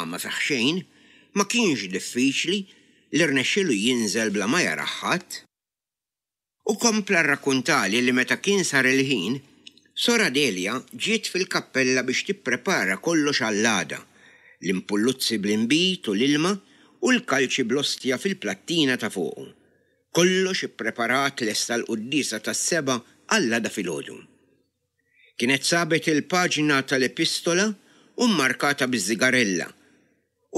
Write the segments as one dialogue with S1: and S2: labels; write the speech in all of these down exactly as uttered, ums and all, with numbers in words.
S1: ma fih xejn, ma kienx diffiċli li rnexxielu jinżel bla ma jarah ħadd. U kompla rrakkuntali li meta kien sar il-ħin, Sor Adelia ġiet fil-kappella biex tipprepara kollox għall-għada, l-impulluzzi bl-inbid u l-ilma u l-kalċi bl-ostja fil-plattina ta' fuqu. Kollox ippreparat lest għall-quddiesa tas-sebgħa għall-għada filgħodu. Kienet sabet il-paġna tal-epistola u mmarkata biż-żigarella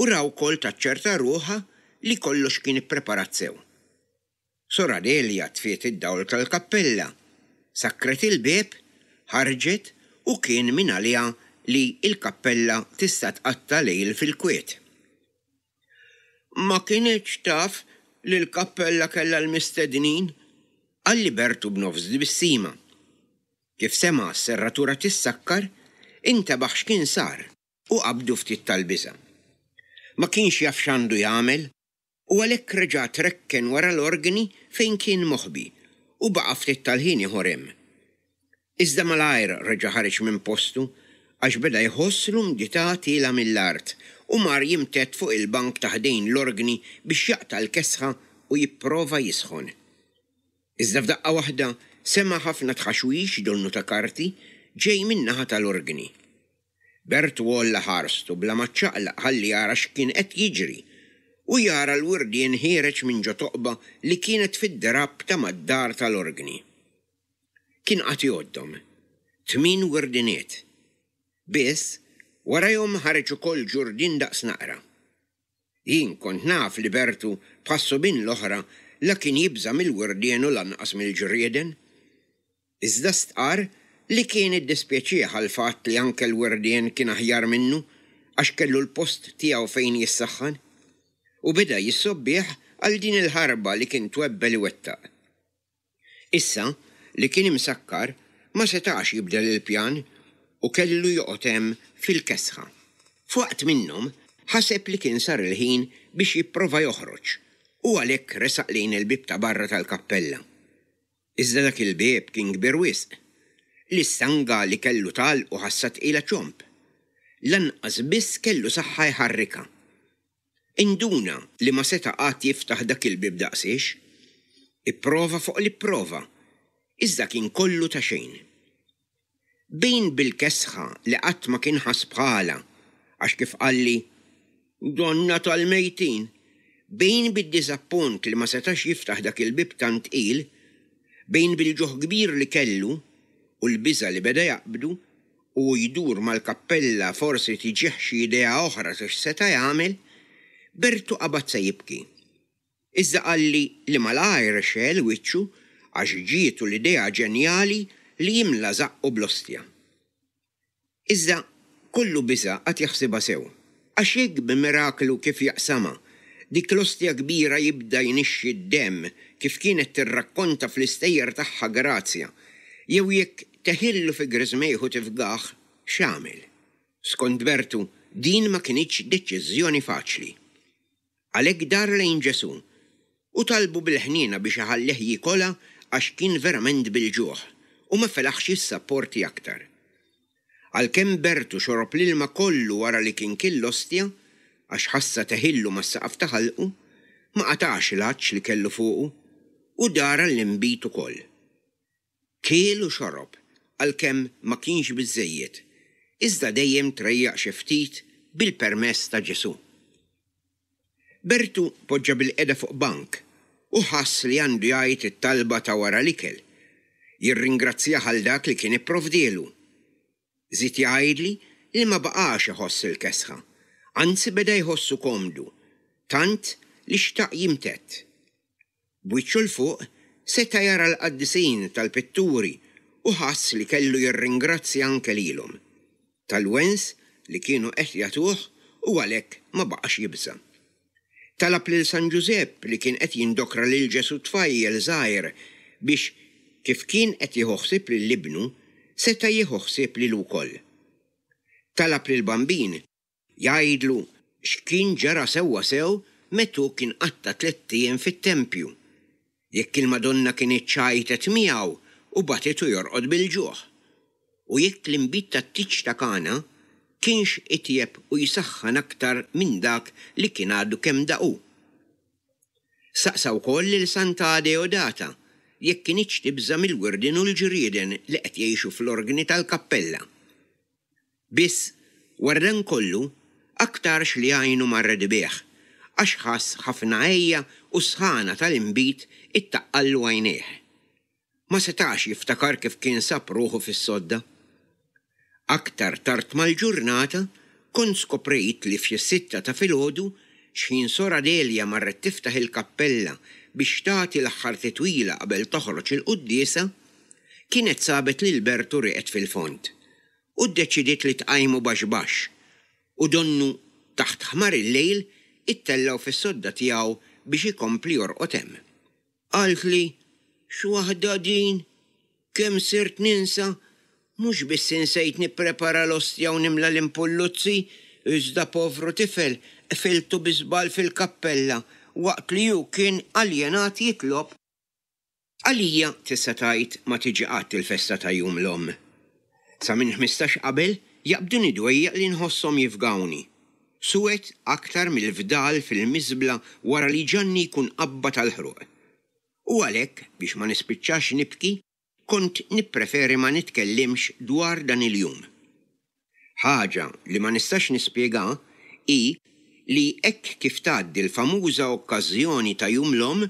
S1: u ra wkoll taċċerta ruħha li kollox kien ippreparat sew. Sor Adelia tfiet id-dawl tal-kappella, sakkret il-bieb, ħarġet u kien minn għaliha li l-kappella tista' tqatta' lejl fil-kwiet. Ma kinitx taf li l-kappella kellha l-mistednin, qalli Bertu b'nofs tbissima. Kif sema' s-serratura tissakkar, intebaħ x'kien sar u qabdu ftit tal-biża'. Ma kienx jaf x'għandu jagħmel u għalhekk reġa' trekken wara l-organi fejn kien moħbi u baqa' ftit tal-ħin ieħor hemm. Iżda malajr reġa' ħareġ minn postu għax beda jħoss l-umdità tielgħa mill-art u mar jimtedd fuq il-bank ta' ħdejn l-organi biex jaqta' l-kesħa u jipprova jisħon. Iżda f'daqqa waħda sema' ħafna tħaxwix donnu ta' karti ġej min-naħa tal-organi. Bertu għolla ħarstu bla ma ċċaqlaq ħalli jara x'kien qed jiġri u jara l-wirdien ħiereġ minn ġo toqba li kienet fid-drapp ta' mad-dar tal-organi. Kien qagħad jgħoddhom. Tmien wirdiniet. Biss, warajhom ħareġ ukoll ġurdien daqs naqra. Jien kont naf li Bertu bħas-subien l-oħra la kien jibża' mill-wirdien u lanqas mill-ġrieden. Iżda stqarr li kien iddispjaċih għall-fatt li anke l-wirdien kien aħjar minnu għax kellu l-post tiegħu fejn jissaħħan. U beda jissobbih għal din il-ħarba li kien twebbel iwettaq. Issa li kien imsakkar ma setax jibdel il-pjan u kellu joqgħod hemm fil-kesħa. F'waqt minnhom ħaseb li kien sar il-ħin biex jipprova joħroġ u għalhekk resaq lejn il-bieb ta' barra tal-kappella. Iżda dak il-bieb kien kbir wisq. L-istanga li kellu tagħlqu ħassha tqila ċomb. Lanqas biss kellu saħħa jħarrikha. Induna li ma seta' qatt jiftaħ dak il-bieb daqsiex. Ipprova fuq li pprova, iżda kien kollu ta' xejn. Bejn bil-kesħa li qatt ma kien ħass bħalha, għax kif qalli, donna tal-mejtin, bejn bid-diżappunt li ma setax jiftaħ dak il-bieb tant tqil, bejn bil-ġuħ kbir li kellu u l-biża' li beda jaqbdu, u jdur mal-kappella forsi tiġih xi idea oħra ta' x'seta' jagħmel, Bertu qabad se jibki. Iżda qalli li malajr xegħel wiċċu għax ġietu l-idea ġenjali li jimla żaqqu bl-ostja. Iżda kollu biża' qagħad jaħsibha sew, għax jekk b'miraklu kif jaqsamha, dik l-ostja kbira jibda jnixxi d-demm kif kienet tirrakkonta fl-istejjer tagħha Grazja, jew jekk teħillu fi griżmejh u tifgah, x'għamel? Skont Bertu, din ma kinitx deċiżjoni faċli. Għalhekk dar lejn Ġesù u talbu bil-ħniena biex iħallih jikolha għax kien verament bil-ġuħ u ma felaħx jissapporti aktar. Għalkemm Bertu xorob l-ilma kollu wara li kien kiel l-ostja, għax ħassha teħillu mas-saqaf ta' ħalqu, ma qatax l-għatx li kellu fuqu u dar għall-inbid ukoll. Kiel u xorob għalkemm ma kienx biżżejjed, iżda dejjem trejjaq xi ftit bil-permess ta' Ġesù. Bertu poġġa bilqiegħda fuq bank u ħass li għandu jgħid it-talba ta' wara l-ikel, jirringrazzjah għal dak li kien ipprovdielu. Żied jgħidli li ma baqax iħoss il-kesħa, anzi beda jħossu komdu, tant li xtaq jimtedd. B'wiċċu 'l fuq seta' jara l-qaddisin tal-pitturi u ħass li kellu jirringrazzja anke lilhom, tal-wens li kienu qed jagħtuh u għalhekk ma baqax jibża'. Talab lil San Ġużepp li kien qed jindokra lil Ġesù tfajjel żgħir biex kif kien qed jieħu ħsieb lil ibnu, seta' jieħu ħsieb lilu wkoll. Talab lil Bambin jgħidlu x'kien ġara sewwa sew meta hu kien qatta' tlett ijiem fit-tempju, jekk il-Madonna kinitx ċajtet miegħu u bagħtitu jorqod bil-ġuħ, u jekk l-inbid tat-tieġ ta' Kana kienx itjeb u jsaħħan aktar minn dak li kien għadu kemm daq hu. Saqsa wkoll lil Santa Adeodata jekk kinitx tibża' mill-wirdien u l-ġrieden li qed jgħixu fl-orgni tal-kappella. Biss, wara dan kollu, aktarx li għajnu marret bih, għax ħass ħafna għeja u s-sħana tal-inbid ittaqqallu għajnejh. Ma setax jiftakar kif kien sab ruħu fis-sodda. Aktar tard mal-ġurnata kont skoprejt li f'xi sitta ta' filgħodu x'ħin Sor Adelia marret tiftaħ il-kappella biex tagħti l-aħħar titwila qabel toħroġ il-quddiesa, kienet sabet lil Bertu rieqed fil-fond u ddeċidiet li tqajmu baxx baxx u donnu taħt ħmar il-lejl ittellgħu fis-sodda tiegħu biex ikompli jorqod hemm. Qaltli, X'waħda din! Kemm sirt ninsa! Mhux biss insejt nipprepara l-ostja u nimla l-impulluzzi, iżda povru tifel qfiltu bi żball fil-kappella waqt li hu kien aljenat jitlob. Għalija tista' tgħid ma tiġi qatt il-festa ta' Jum l-Omm. Sa minn ħmistax qabel jaqbduni dwejjaq li nħosshom jifgawni. Suwed aktar mill-fdal fil-miżbla wara li Ġanni jkun qabbad għall-ħruq. U għalhekk, biex ma nispiċċax nibki, kont nippreferi ma nitkellimx dwar dan il-jum. Ħaġa li ma nistax nispjega hi li hekk kif tgħaddi l-famuża okkażjoni ta' Jum l-Omm,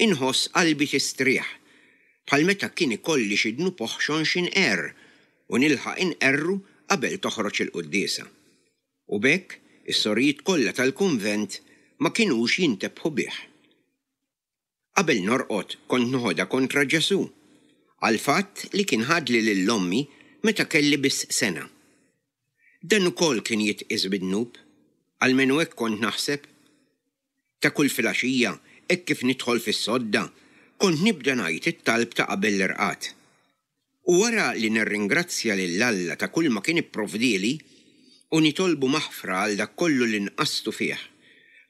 S1: inħoss qalbi tistrieħ, bħal meta kien ikolli xi dnub oħxon xi nqerr u nilħaq inqerru qabel toħroġ il-quddiesa. U b'hekk is-sorijiet kollha tal-kunvent ma kinux jintebħu bih. Qabel norqod kont noħodha kontra Ġesù għall-fatt li kien ħadli lil ommi meta kelli biss sena. Dan ukoll kien jitqies bi dnub, almenu hekk kont naħseb. Ta' kull filgħaxija, hekk kif nidħol fis-sodda, kont nibda ngħid it-talb ta' qabel l-irqad. U wara li nirringrazzja lil Alla ta' kulma kien ipprovdieli u nitolbu maħfra għal dak kollu li nqastu fih,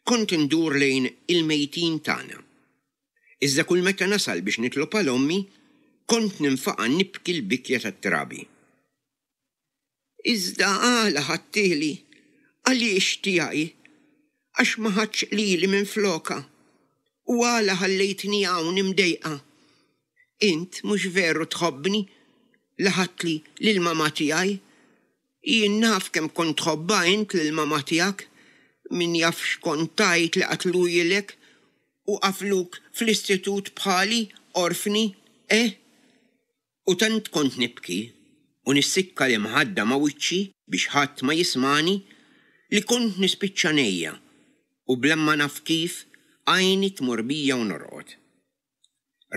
S1: kont indur lejn il-mejtin tagħna. Iżda kull meta nasal biex nitlob għal ommi, kont ninfaqa' nibki l-bikja tat-trabi. Iżda għala ħadtieli? Għaliex tiegħi? Għax ma ħadtx lili minflokha? U għala ħallejtni hawn imdejqa? Int mhux veru tħobbni li ħadtli lill-mamà tiegħi? Jien naf kemm kont tħobbha int lill-mamà tiegħek. Min jaf x'kont tgħid li qatluhielek u qafluk fl-istitut bħali, orfni, eh? U tant kont nibki u nissikka l-imħadda ma' wiċċi biex ħadd ma jismagħni li kont nispiċċa ngħejja u bla ma naf kif għajni tmur bija u norqod.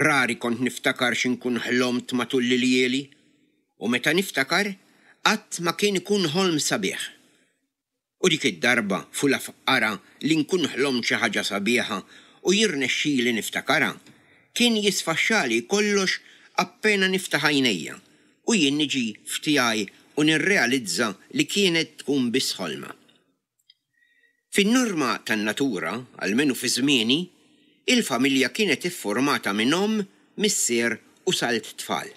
S1: Rari kont niftakar xi nkun ħlomt matul l-iljieli u meta niftakar qatt ma kien ikun ħolm sabiħ. U dik id-darba fula fqara li nkun ħlomt xi ħaġa sabiħa u jirnexxili niftakarha, kien jisfaxxali kollox appena niftaħ għajnejja u jien niġi f'tiegħi u nirrealizza li kienet tkun biss ħolma. Fin-norma tan-natura, almenu fi żmieni, il-familja kienet iffurmata minn omm, missier u salt tfal.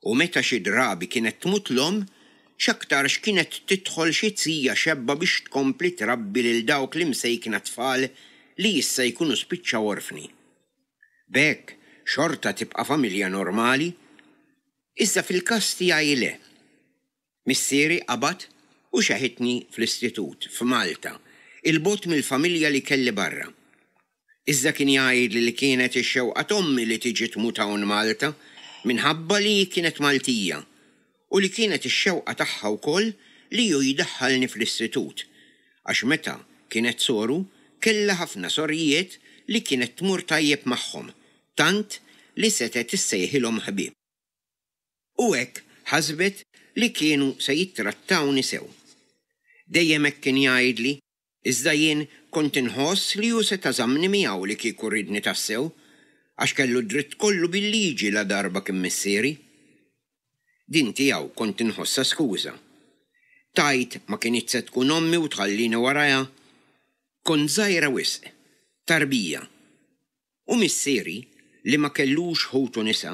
S1: U meta xi drabi kienet tmut l-omm, x'aktarx kienet tidħol xi zija xebba biex tkompli trabbi lil dawk l-imsejkna tfal li issa jkunu spiċċaw orfni. B'hekk xorta tibqa' familja normali, iżda fil-każ tiegħi le. Missieri qabad u xeħitni fl-istitut f'Malta, 'il bogħod mill-familja li kelli barra. Iżda kien jgħidli li kienet ix-xewqa t'ommi li tiġi tmut hawn Malta minħabba li hi kienet Maltija u li kienet ix-xewqa tagħha wkoll li hu jdaħħalni fl-istitut għax meta kienet soru kellha ħafna sorijiet li kienet tmur tajjeb magħhom tant li setgħet issejħilhom ħbieb. U hekk ħasbet li kienu se jittrattawni sew. Dejjem hekk kien jgħidli, iżda jien kont inħoss li hu seta' żammni miegħu li kieku riedni tassew, għax kellu d-dritt kollu bil-liġi ladarba kien missieri. Din tiegħu kont inħossha skuża. Tgħid ma kinitx se tkun ommi u tħallini warajha? Kont żgħira wisq, tarbija. U missieri, li ma kellux ħutu nisa,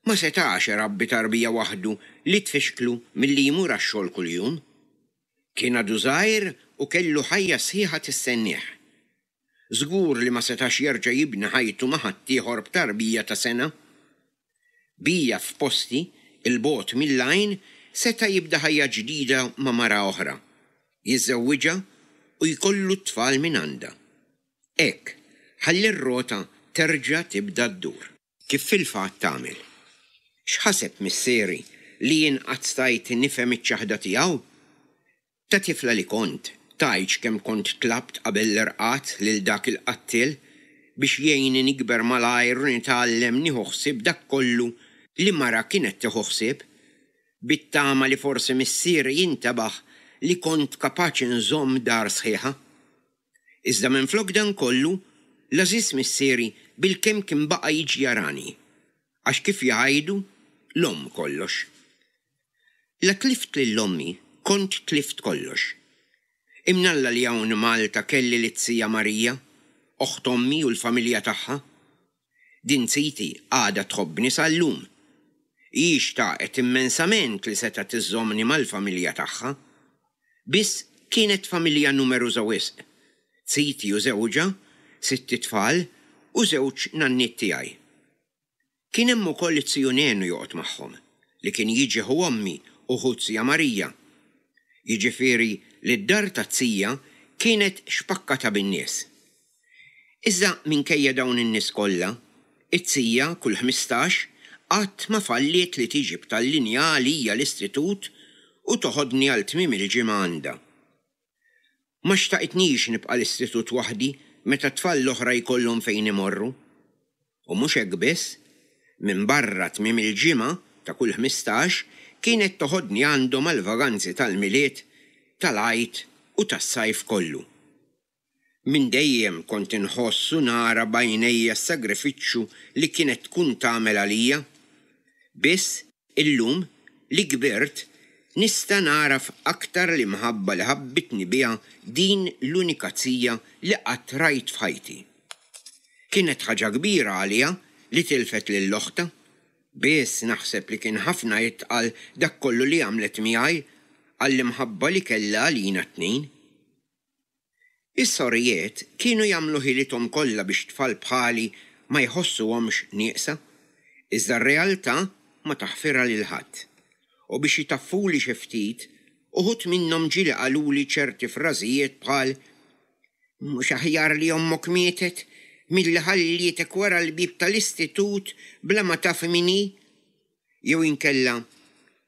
S1: ma setax irabbi tarbija waħdu li tfixklu milli jmur għax-xogħol kuljum. Kien għadu żgħir u kellu ħajja sħiħa tistennieh. Żgur li ma setax jerġa' jibni ħajtu ma' ħaddieħor b'tarbija ta' sena. Bija f'posti, 'il bogħod mill-għajn, seta' jibda ħajja ġdida ma' mara oħra, jiżżewwiġha u jkollu t-tfal mingħandha. Hekk, ħalli r-rota terġa' tibda ddur. Kif fil-fatt għamel. X'ħaseb missieri li jien qatt stajt nifhem iċ-ċaħda tiegħu? Ta' tifla li kont, tgħidx kemm kont tlabt qabel l-irqad lil dak il-qattiel biex jgħinni nikber malajr u nitgħallem nieħu ħsieb dak kollu li mara kienet tieħu ħsieb, bit-tama li forsi missieri jintebaħ li kont kapaċi nżomm dar sħiħa. Iżda minflok dan kollu, l-għażiż missieri bilkemm kien baqa' jiġi jarani, għax kif jgħidu, l-omm kollox. La tlift lil ommi, kont tlift kollox. Imnalla li hawn Malta kelli lit-zija Marija, oħt ommi u l-familja tagħha. Din ziti għadha tħobbni sal-lum. Hi xtaqet immensament li setgħet iżżommni mal-familja tagħha. Biss kienet familja numeruża wisq. Ziti u żewġha, sitt itfal u żewġ nanniet tiegħi. Kien hemm ukoll it-ziju Nenu joqgħod magħhom, li kien jiġi ħu ommi u ħu zija Marija. Jiġifieri li d-dar taz-zija kienet xpakkata bin-nies. Iżda minkejja dawn in-nies kollha, it-zija kull ħmistax qatt ma falliet li tiġi b'tal-linja għalija l-istitut u toħodni għal tmiem il-ġimgħa għandha. Ma xtaqitnix nibqa' l-istitut waħdi meta t-tfal l-oħra jkollhom fejn imorru. U mhux hekk biss, minbarra tmiem il-ġimgħa ta' kull ħmistax kienet toħodni għandhom għall-vaganzi tal-Milied, tal-Għid u tas-sajf kollu. Minn dejjem kont inħoss u nara b'għajnejja s-sagrifiċċju li kienet tkun tagħmel għalija. Biss, illum, li kbirt, nista' nagħraf aktar l-imħabba li ħabbitni biha din l-unika zija li qatt rajt f'ħajti. Kienet ħaġa kbira għaliha li tilfet lil oħtha, biss naħseb li kien ħafna itqal dak kollu li għamlet miegħi għall-imħabba li kellha għalina t-tnejn. Is-sorijiet kienu jagħmlu ħilithom kollha biex tfal bħali ma jħossuhomx nieqsa, iżda r-realtà ma taħfirha lil ħadd. U biex jitaffuli xi ftit, uħud minnhom ġieli qaluli ċerti frażijiet bħal mhux aħjar li ommok mietet milli ħallietek wara l-bieb tal-istitut bla ma taf min hi? Jew inkella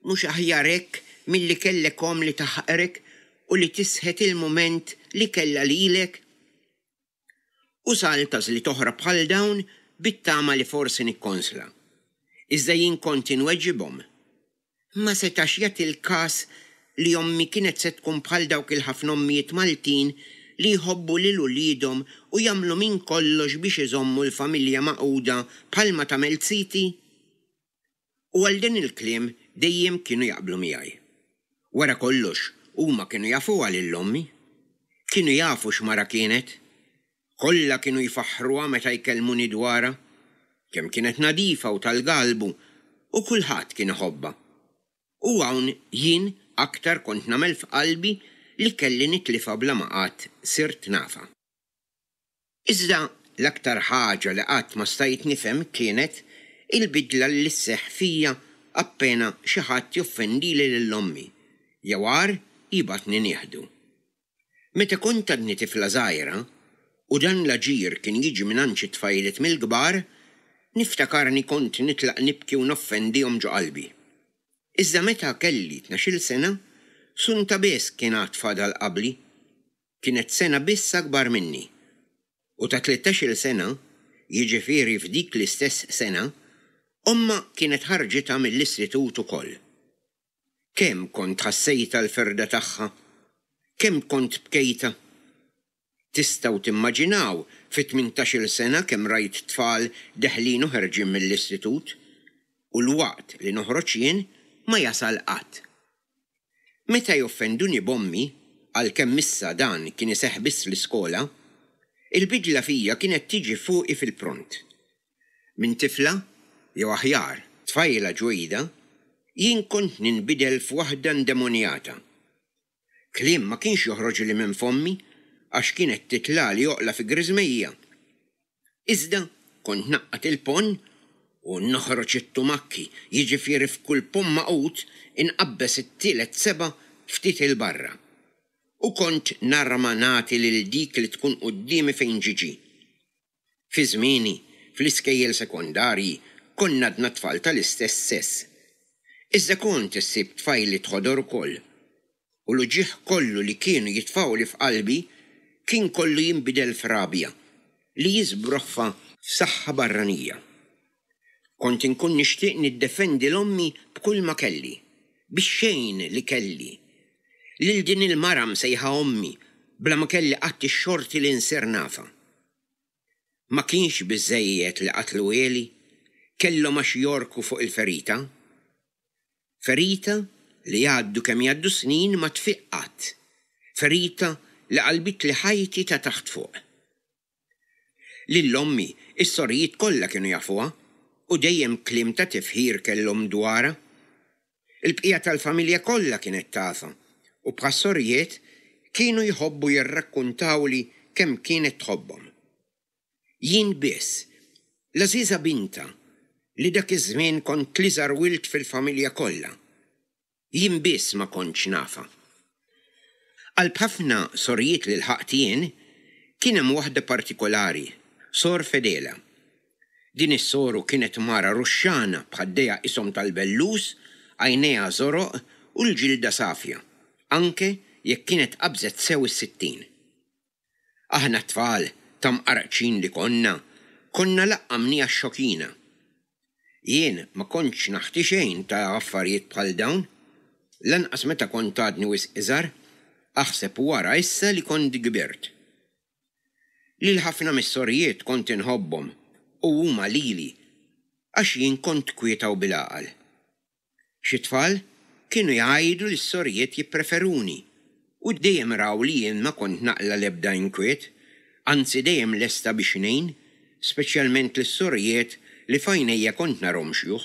S1: mhux aħjar hekk milli kellek omm li taħqrek u li tisħet il-mument li kellha lilek? U salt għażliet oħra bħal dawn bit-tama li forsi nikkonsla. Iżda jien kont inweġibhom. Ma setax jagħti l-każ li ommi kienet se tkun bħal dawk il-ħafna ommijiet Maltin li jħobbu lil uliedhom u jagħmlu minn kollox biex iżommu l-familja magħquda bħalma tagħmel ziti? U għal din il-kliem dejjem kienu jaqblu miegħi. Wara kollox, huma kienu jafuha lil ommi. Kienu jafu x'mara kienet. Kollha kienu jfaħħruha meta jkellmuni dwarha. Kemm kienet nadifa u tal-galbu u kulħadd kien iħobbha. U hawn jien aktar kont nagħmel f'qalbi li kelli nitlifha bla ma qatt sirt nafha. Iżda l-aktar ħaġa li qatt ma stajt nifhem kienet il-bidla li sseħħ fija appena xi ħadd joffendili lil ommi, jew agħar jibgħatni nieħdu. Meta kont għadni tifla żgħira, u dan l-aġir kien jiġi mingħand xi tfajliet mill-kbar, niftakarni kont nitlaq nibki u noffendihom ġo qalbi. Iżda meta kelli tnax-il sena, Sunta biss kien għad fadal qabli. Kienet sena biss akbar minni. U ta' tlettax-il sena, jiġifieri f'dik l-istess sena, ommha kienet ħarġitha mill-istitut ukoll. Kemm kont ħassejtha l-firda tagħha! Kemm kont bkejtha! Tistgħu timmaġinaw fi tmintax-il sena kemm rajt tfal deħlin u ħerġin mill-istitut, u l-waqt li noħroġ jien ma jasal qatt. Meta joffenduni b'ommi, għalkemm issa dan kien iseħħ biss l-iskola, il-bidla fija kienet tiġi fuqi fil-pront. Minn tifla, jew aħjar, tfajla ġwejda, jien kont ninbidel f'waħda ndemonjata. Kliem ma kienx joħroġli minn fommi għax kienet titlagħli oqla fi griżmejja. Iżda kont ngħaqqad il-ponn u noħroġ it-tumakki, jiġifieri f'kull ponn magħqud inqabbeż it-tielet seba' ftit 'il barra. U kont narma nagħti lil dik li tkun quddiemi fejn ġie ġie. Fi żmieni, fl-iskejjel sekondarji, konna għadna tfal tal-istess sess. Iżda kont issib tfajliet ħodor ukoll. U l-uġigħ kollu li kienu jitfgħuli f'qalbi kien kollu jinbidel f'rabja li jiżbroffa f'saħħa barranija. Kont inkun nixtieq niddefendi 'l ommi b'kull ma kelli, bix-xejn li kelli. Lil din il-mara msejħa ommi bla ma kelli qatt ix-xorti li nsir nafha. Ma kienx biżżejjed li qatluhieli, kellhom għax jorku fuq il-ferita. Ferita li jgħaddu kemm jgħaddu snin ma tfiq qatt. Ferita li qalbitli ħajti ta' taħt fuq. Lil ommi is-sorijiet kollha kienu jafuha u dejjem kliem ta' tifħir kellhom dwarha. Il-bqija tal-familja kollha kienet tafha u bħas-sorijiet kienu jħobbu jirrakkuntawli kemm kienet tħobbhom. Jien biss, l-għażiża bintha, li dak iż-żmien kont l-iżgħar wild fil-familja kollha. Jien biss ma kontx nafha. Qalb ħafna sorijiet li lħaqt jien, kien hemm waħda partikolari, Sor Fedela. Din is-soru kienet mara ruxxana b'ħaddejha qishom tal-bellus, għajnejha żoroq u l-ġilda safja, anke jekk kienet qabżet sew is-sittin. Aħna t-tfal ta' mqarqċin li konna, konna laqqamniha x-xokina. Jien ma kontx naħti xejn ta' affarijiet bħal dawn, lanqas meta kont għadni wisq iżgħar, aħseb u ara issa li kont kbirt. Lil ħafna mis-sorijiet kont inħobbhom u huma lili, għax jien kont kwieta u bil-għaqal. Xi tfal kienu jgħidu li s-sorijiet jippreferuni u dejjem raw li jien ma kont naqla' l-ebda inkwiet, anzi dejjem lesta biex ngħin, speċjalment lis-sorijiet li f'għajnejja kont narhom xjuħ.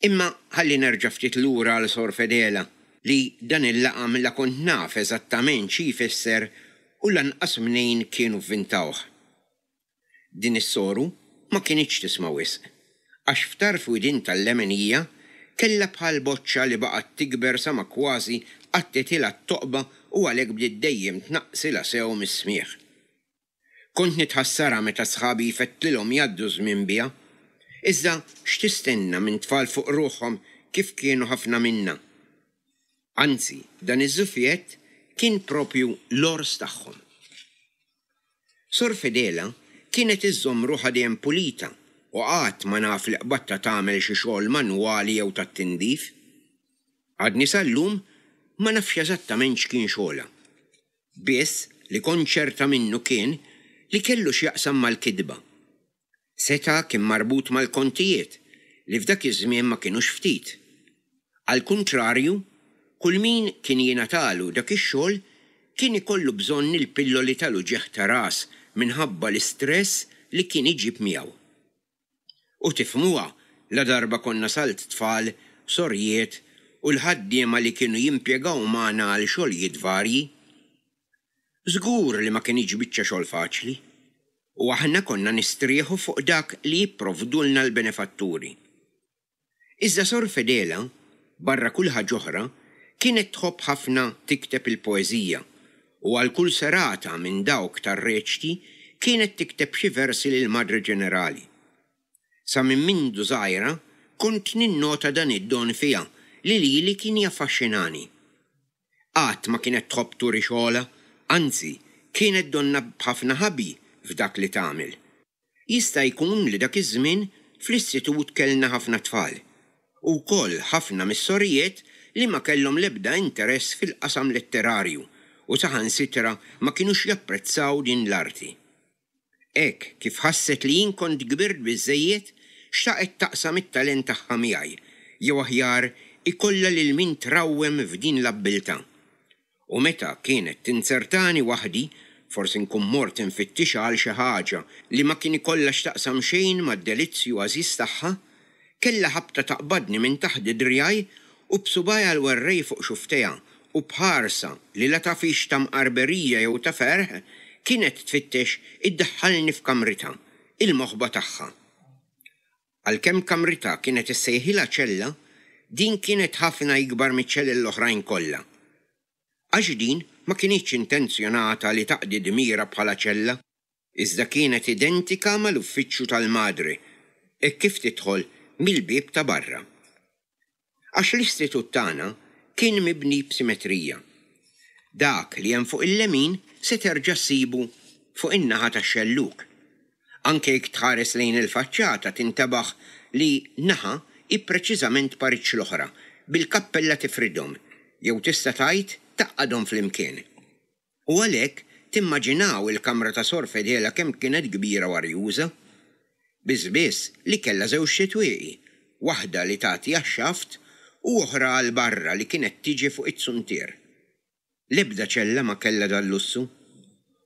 S1: Imma ħalli nerġa' ftit lura għal Sor Fedela li dan il-laqam la kont naf eżattament xi jfisser u lanqas mnejn kienu vvintawh. Din is-soru ma kinitx tisma' wisq, għax f'tarf widien tal-lemenija kellha bħal boċċa li baqgħet tikber sa ma kważi għattitilha t-toqba u għalhekk bdiet dejjem tnaqqsilha sew mis-smigħ. Kont nitħassarha meta sħabi jfettlilhom jgħaddu ż-żmien biha. Iżda x'tistenna minn tfal fuq ruħhom kif kienu ħafna minna? Anzi, dan iż-żufjett kien propju l-għors tagħhom. Sor Fedela kienet iżżomm ruħha dejjem pulita u qatt ma naf li qbadtha tagħmel xi xogħol manwali jew tat-tindif. Għadni sal-lum ma nafx eżattament x'kien xogħolha. Biss li kont ċerta minnu kien li kellu x'jaqsam mal-kitba. Seta' kien marbut mal-kontijiet li f'dak iż-żmien ma kinux ftit. Għall-kuntrarju, kull min kien jingħatalu dak ix-xogħol kien ikollu bżonn il-pilloli tal-uġigħ ta' ras minħabba l-istress li kien iġib miegħu. U tifhmuha ladarba konna salt tfal, sorijiet u l-ħaddiema li kienu jimpjegaw magħna għal xogħlijiet varji. Żgur li ma kinitx biċċa xogħol faċli, u aħna konna nistrieħu fuq dak li jipprovdulna l-benefatturi. Iżda Sor Fedela, barra kull ħaġa oħra, kienet tħobb ħafna tikteb il-poeżija u għal kull serata minn dawk tar-reċti kienet tikteb xi versi lill-Madre Ġenerali. Sa minn mindu żgħira kont ninnota dan id-don fiha li lili kien jaffaxxinani. Qatt ma kienet tħobb turi xogħolha, anzi kienet donnha b'ħafna ħabi f'dak li tagħmel. Jista' jkun li dak iż-żmien fl-istitut kellna ħafna tfal, u wkoll ħafna mis-sorijiet li ma kellhom l-ebda interess fil-qasam letterarju u saħansitra ma kinux japprezzaw din l-arti. Hekk kif ħasset li jien kont kbirt biżżejjed, xtaqet taqsam it-talent tagħha miegħi, jew aħjar ikollha lil min trawwem f'din l-abbiltà. U meta kienet tinzertani waħdi, forsi nkun mort infittixha għal xi ħaġa li ma kien ikollha x'taqsam xejn mad-delizzju għażiż tagħha, kellha ħabta taqbadni minn taħt driegħi u b'subgħajha l-werrej fuq xufftejha u b'ħarsa li la taf hix ta' mqarberija jew ta' ferħ kienet tfittex iddaħħalni f'kamritha, il-moħba tagħha. Għalkemm kamritha kienet issejħilha ċella, din kienet ħafna ikbar miċ-ċelel l-oħrajn kollha. Għax din ma kinitx intenzjonata li taqdi dmirha bħala ċella, iżda kienet identika mal-uffiċċju tal-madre, hekk kif tidħol mill-bieb ta' barra. Għax l-istitut tagħna kien mibni b'simetrija. Dak li hemm fuq il-lemin se terġa' ssibu fuq in-naħa tax-xellug. Anke jekk tħares lejn il-faċċata tintebaħ li naħa hi preċiżament pariġġ l-oħra, bil-kappella tifridhom, jew tista' tgħid tgħaqqadhom flimkien. U għalhekk timmaġinaw il-kamra ta' Sor Fedela kemm kienet kbira u arjuża. Biss biss li kellha żewġt itwieqi, waħda li tagħti għax-xaft u oħra għal barra li kienet tiġi fuq iz-zuntier. L-ebda ċella ma kellha dal-lussu.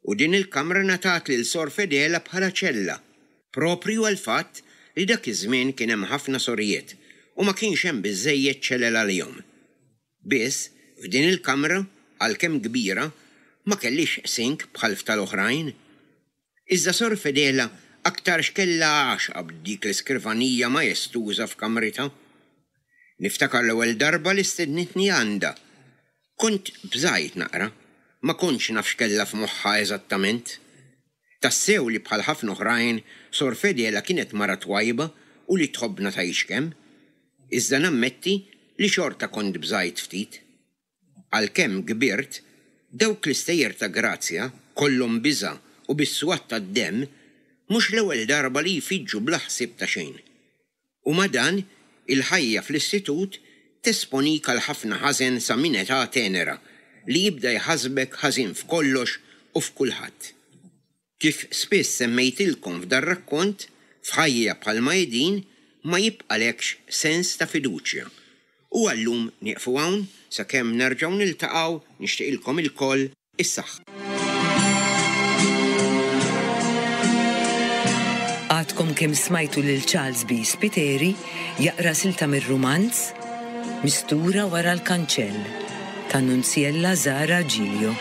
S1: U din il-kamra ngħatat lil Sor Fedela bħala ċella, proprju għall-fatt li dak iż-żmien kien hemm ħafna sorijiet u ma kienx hemm biżżejjed ċelel għalihom. Biss, f'din il-kamra, għalkemm kbira, ma kellhiex sink bħal f'tal-oħrajn. Iżda Sor Fedela aktarx kellha għaxqa b'dik l-iskrivanija majestuża f'kamritha. Niftakar l-ewwel darba li stednitni għandha. Kont bżajt naqra, ma kontx naf x'kellha f'moħħha eżattament. Tassew li bħal ħafna oħrajn, Sor Fedela kienet mara twajba u li tħobbna tgħix kemm. Iżda nammetti li xorta kont bżajt ftit. Għalkemm kbirt, dawk l-istejjer ta' Grazja, kollhom biża' u bis-swat tad-demm, mhux l-ewwel darba li jfiġġu bla ħsieb ta' xejn. U ma' dan, il-ħajja fl-istitut tesponik għal ħafna ħażen sa minn età tenera li jibda jħassbek ħażin f'kollox u f'kulħadd. Kif spiss semmejtilkom f'dar-rakkont, f'ħajja bħalma hi din ma jibqalekx sens ta' fiduċja. U għal-lum nieqfu hawn sakemm nerġgħu niltaqgħu nixtieqilkom ilkoll is-saħħa.
S2: Għadkom kemm smajtu lil Charles B. Spiteri jaqra silta mir-rumanz Mistura wara l-kanċell ta' Nunziella Zara Giglio.